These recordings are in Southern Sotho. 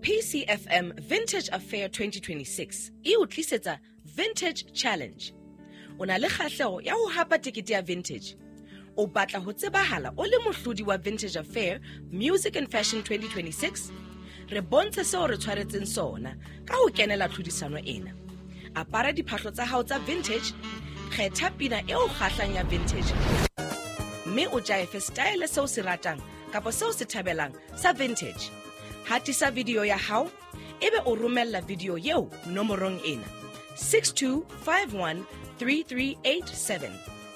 PCFM Vintage Affair 2026 e o tlisetsa Vintage Challenge. O na le kgahleho ya ho hapa tekete ya Vintage. O batla ho tsebahala o le mohlodi wa Vintage Affair Music and Fashion 2026? Re bontshe seo re tshwaretseng sona ka ho kenela tlhodisano ena. Apara diphahlo tsa hao tsa vintage, kgetha pina e o kgahlang ya vintage mme o jaefe style seo se ratang kapa seo se thabelang sa vintage. Hatisa video ya hao ebe o romella video eo nomorong ena 62513387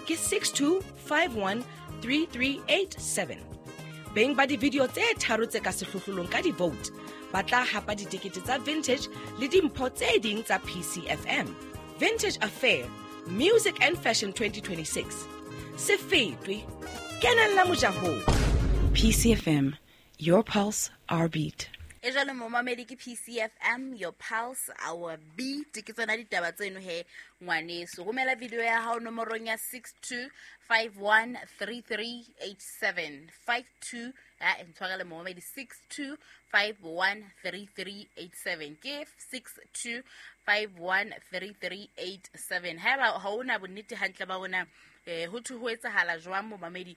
ke 62513387. Beng ba di-video tse tharo tse ka sehlohlolong ka di-vote ba tla hapa ditekete tsa Vintage le dimpho tse ding tsa PCFM. Vintage Affair Music and Fashion 2026, se fetwe, kenella mojahong. PCFM, your pulse, our beat. E jalo momamedi, ke PCFM, your pulse, our beat. Ke tsona ditaba tseno he ngwaneso. Romela video ya hao nomorong ya 62513387 52 a ntshwarele momamedi, 62513387, ke 62513387. Haeba ha ona bonnete hantle ba bona ho thwe ho etsahala jwang momamedi,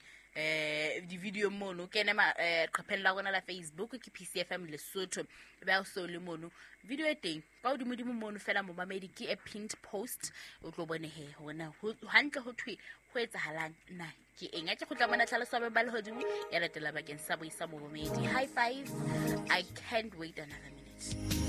di-video mono, kene qepheng la rona la Facebook, ke PCFM Lesotho. E be so le mono video e teng ka hodimodimo mono fela momamedi, ke a pinned post. O tlo bone he hona hantle ho thwe ho etsahalang na ke eng. A ke kgutla mona, tlhaloso ya ba lehodimo ya latela bakeng sa boisa momamedi. High five, I can't wait another minute.